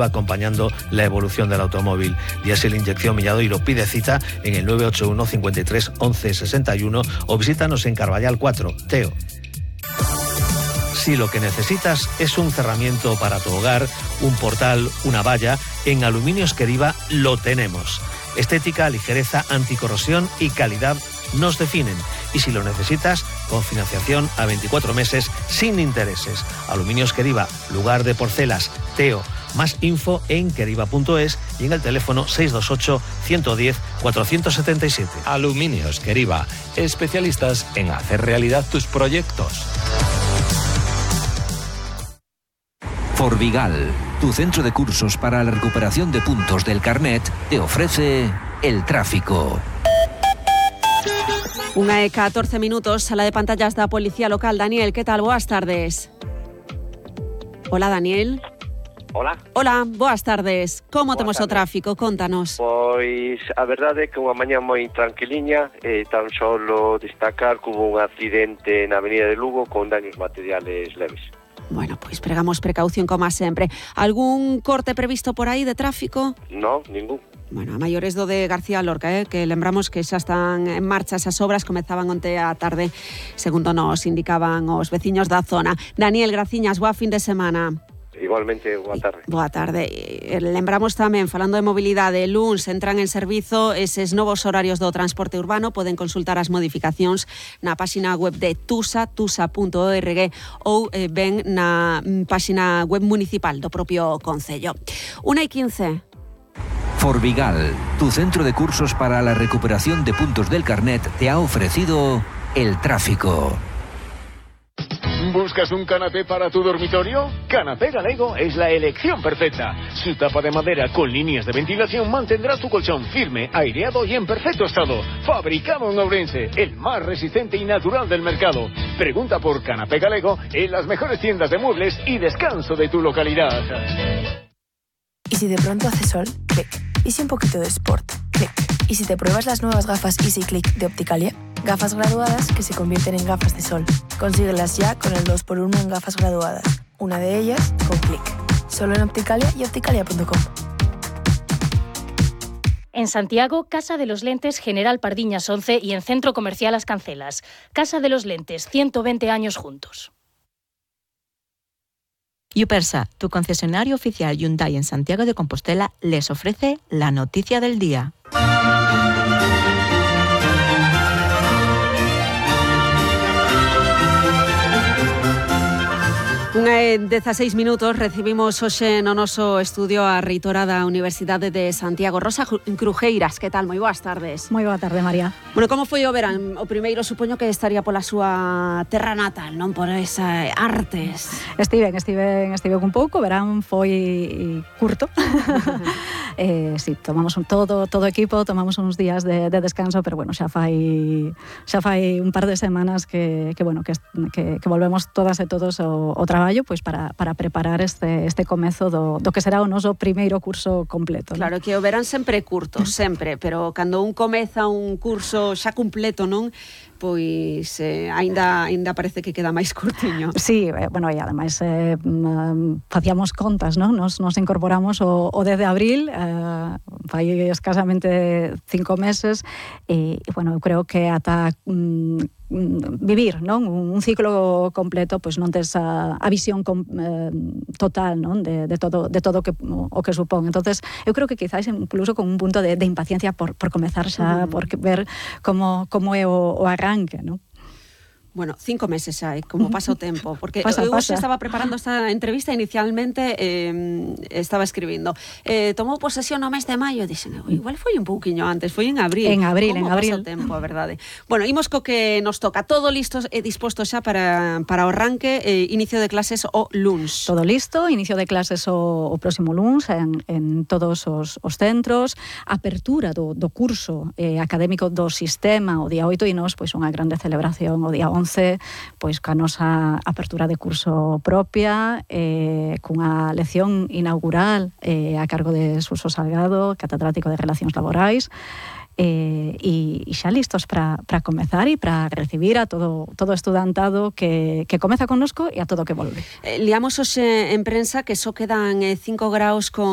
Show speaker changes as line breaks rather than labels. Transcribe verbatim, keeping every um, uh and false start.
acompañando la evolución del automóvil. Diesel inyección Milladoiro. Pide cita en el nueve ocho uno, cincuenta y tres, once, sesenta y uno o visítanos en Carballal cuatro, Teo. Si lo que necesitas es un cerramiento para tu hogar, un portal, una valla, en Aluminios Queriva lo tenemos. Estética, ligereza, anticorrosión y calidad nos definen. Y si lo necesitas, con financiación a veinticuatro meses sin intereses. Aluminios Queriva, lugar de porcelas, Teo. Más info en queriva punto es y en el teléfono seis dos ocho, ciento diez, cuatrocientos setenta y siete.
Aluminios Queriva, especialistas en hacer realidad tus proyectos.
Forvigal, tu centro de cursos para la recuperación de puntos del carnet, te ofrece el tráfico.
Unha e catorce minutos, sala de pantallas da Policía Local. Daniel, que tal? Boas tardes. Hola, Daniel.
Hola.
Hola, boas tardes. Como
Boas
temos
tardes.
o tráfico? Contanos.
Pois a verdade é que unha mañá moi tranquiliña, eh, tan solo destacar que hubo un accidente na avenida de Lugo con daños materiales leves.
Bueno, pois pregamos precaución como sempre. Algún corte previsto por aí de tráfico?
No, ningún.
Bueno, a maiores do de García Lorca, eh, que lembramos que xa están en marcha esas obras, comezaban onte á tarde, segundo nos indicaban os veciños da zona. Daniel, graciñas, boa fin de semana.
Igualmente, boa tarde.
Boa tarde. Lembramos tamén, falando de mobilidade, luns entran en servizo eses novos horarios do transporte urbano. Poden consultar as modificacións na páxina web de Tusa, tusa punto org, ou eh, ben na páxina web municipal do propio concello. una y quince.
Forvigal, tu centro de cursos para la recuperación de puntos del carnet, te ha ofrecido el tráfico.
¿Buscas un canapé para tu dormitorio? Canapé Galego es la elección perfecta. Su tapa de madera con líneas de ventilación mantendrá tu colchón firme, aireado y en perfecto estado. Fabricado en Ourense, el más resistente y natural del mercado. Pregunta por Canapé Galego en las mejores tiendas de muebles y descanso de tu localidad.
¿Y si de pronto hace sol? Clic. ¿Y si un poquito de sport? Clic. ¿Y si te pruebas las nuevas gafas Easy Click de Opticalia? Gafas graduadas que se convierten en gafas de sol. Consíguelas ya con el dos por uno en gafas graduadas. Una de ellas con Clic. Solo en Opticalia y opticalia punto com.
En Santiago, Casa de los Lentes General Pardiñas once y en Centro Comercial Las Cancelas. Casa de los Lentes, ciento veinte años juntos.
Yupersa, tu concesionario oficial Hyundai en Santiago de Compostela, les ofrece la noticia del día.
Unha e dezaseis minutos, recibimos hoxe no noso estudio a reitora da Universidade de Santiago, Rosa Crujeiras. Que tal? Moi boas tardes.
Moi boa tarde, María.
Bueno, como foi o verán? O primeiro supoño que estaría pola súa terra natal, non? Por esa artes.
Estiven, estiven, estiven un pouco, o verán foi curto. eh, sí, tomamos un todo, todo equipo, tomamos uns días de, de descanso, pero bueno, xa fai xa fai un par de semanas que, que bueno, que, que, que volvemos todas e todos o, o traballo pois para, para preparar este, este comezo do, do que será o noso primeiro curso completo.
Claro,
non?
que o verán sempre curto, sempre, pero cando un comeza un curso xa completo, non? Pois eh, aínda aínda parece que queda máis curtiño.
Sí, eh, bueno, e ademais eh, facíamos contas, non? Nos, nos incorporamos o, o dez de abril, eh, fai escasamente cinco meses, e, bueno, eu creo que ata mm, vivir, non? Un ciclo completo, pois non tes a, a visión com, eh, total, non? De, de todo de todo que, o que supón. Entonces, eu creo que quizás incluso con un punto de, de impaciencia por, por comezar xa, uh-huh. por ver como, como é o, o arranque, non?
Bueno, cinco meses xa, como pasa o tempo, porque
pasa,
eu
pasa.
se estaba preparando esta entrevista inicialmente, eh, estaba escribindo. Eh, tomou posesión no mes de maio, dixen, igual foi un pouquiño antes, foi en abril.
En abril,
como
en abril.
Pasa o tempo, a verdade. Bueno, imos co que nos toca, todo listo e disposto xa para, para o arranque, eh, inicio de clases o luns.
Todo listo, inicio de clases o, o próximo luns en, en todos os, os centros, apertura do, do curso eh, académico do sistema o día oito e nos, pois unha grande celebración o día once once, pois ca nosa apertura de curso propia, eh, cunha lección inaugural eh, a cargo de Suso Salgado, catedrático de Relacións Laborais, Eh, e, e xa listos para comezar e para recibir a todo todo estudantado que, que comeza connosco e a todo que volve.
Eh, liamos hoxe en prensa que só quedan eh, cinco graus con